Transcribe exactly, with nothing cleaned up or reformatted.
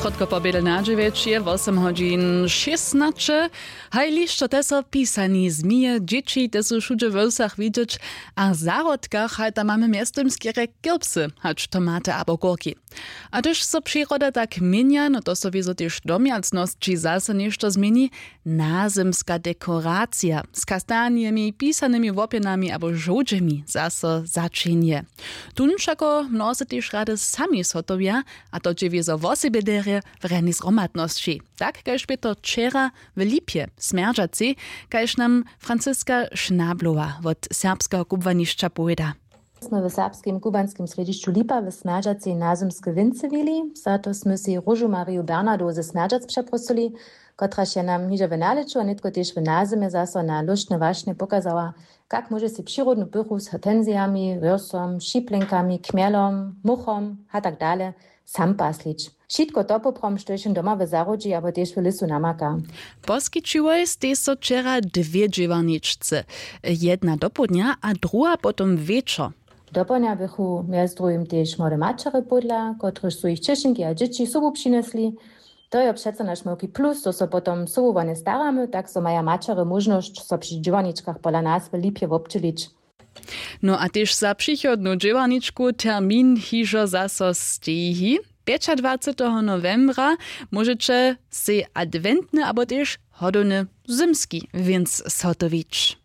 Krótko po bědel na dźewjeć je wosym hodźin šěsnaće. Haj lišćo te so pisani zmije dźěći te su wšudźe we wsach widźeć. A w zahrodkach haj tam mamy mjeztym skerje kirpsy hač tomaty abo górki. A hdyž so přiroda tak měnja no to so wězo tež w domjacnosći zaso něšto změni. Nazymska dekoracija z kastanjemi pisanymi łopjenami abo žołdźemi zaso začinje. Tón wšako mnozy tež rady sami zhotowja. A to dźe wězo wosebje derje w rjani zhromadnosći, tak kaž bě to wčera w lipje w smjerdźacej, kaž nam franciska šnablowa wot serbskeho kubłanišća powěda. Smy w serbskim kubłanskim srjedźišću lipa w smjerdźacej nazymske wěncy wili. Za to smy sej róžu mariju bernardowu ze smjerdźac přeprosyli, kotraž je nam hižo w nalěću a nětko tež w nazymje zaso na lóštne wašnje pokazała, kak móže sej přirodnu pychu z hortenzijami, wyrsom, šiplenkami, kmjelom, muchom a tak dale sam paslić. Wšitko to poprawom štož jim doma w zahrodźi abo tež w lěsu namaka. Poskićiłoj stej so wčera dwě dźěłarničce, jedna dopołdnja a druha potom wječor. Dopołdnja běchu mjez druhim tež młode maćerje pódla, kotrež su jich ćešinki a dźěći sobu přinjesli. To jo přeco naš małki plus zo so potom sobu wone staramy tak zo maja maćerje móžnosć so při dźěłarničkach pola nas w lipje wobdźělić. No a tež za přichodnu dźěłarničku termin hižo zaso steji. Pjećadwaceteho nowembra móžeće sej adwentny abo tež hodowny zymski wěnc zhotowić.